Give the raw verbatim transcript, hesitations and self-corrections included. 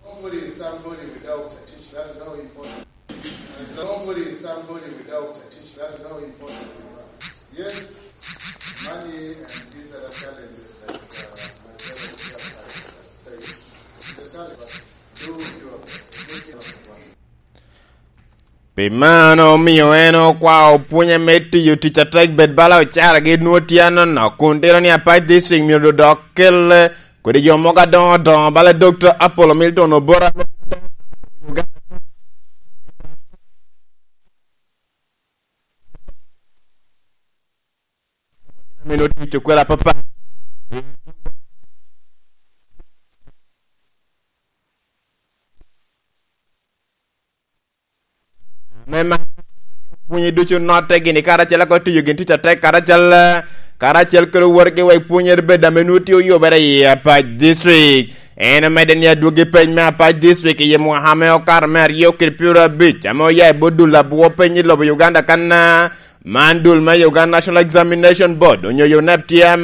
Nobody is somebody without a teacher. That is how important. Nobody is somebody without a teacher. That is how important we are. Yes, money and these other challenges that, uh, my brother here has said, it's a challenge, but do your best. Make it. Pi mano omio en okwao pwonye me tiyo tic atek bed bala ocara gi nwoŋo tye anono, kun tito ni Apac District myero dodok kel kodi jo mogo adoŋo adoŋo bala Dokta Apollo Milton Obora. Meno tic okwela papa. Me ma pwonye ducu notte gini karacel ako tiyo gin tic atek karacel, karacel kede wotgi wek pwonyere bed ame nwoŋo tye oyubere i Apac District. En omedde ni adwogi peny me Apac District i mwaka ame okato me aryo kede pyero abic ame oya i bot dul abwo peny i lobo Uganda kan, man dul me Uganda National Examination Board onyo yo nep tye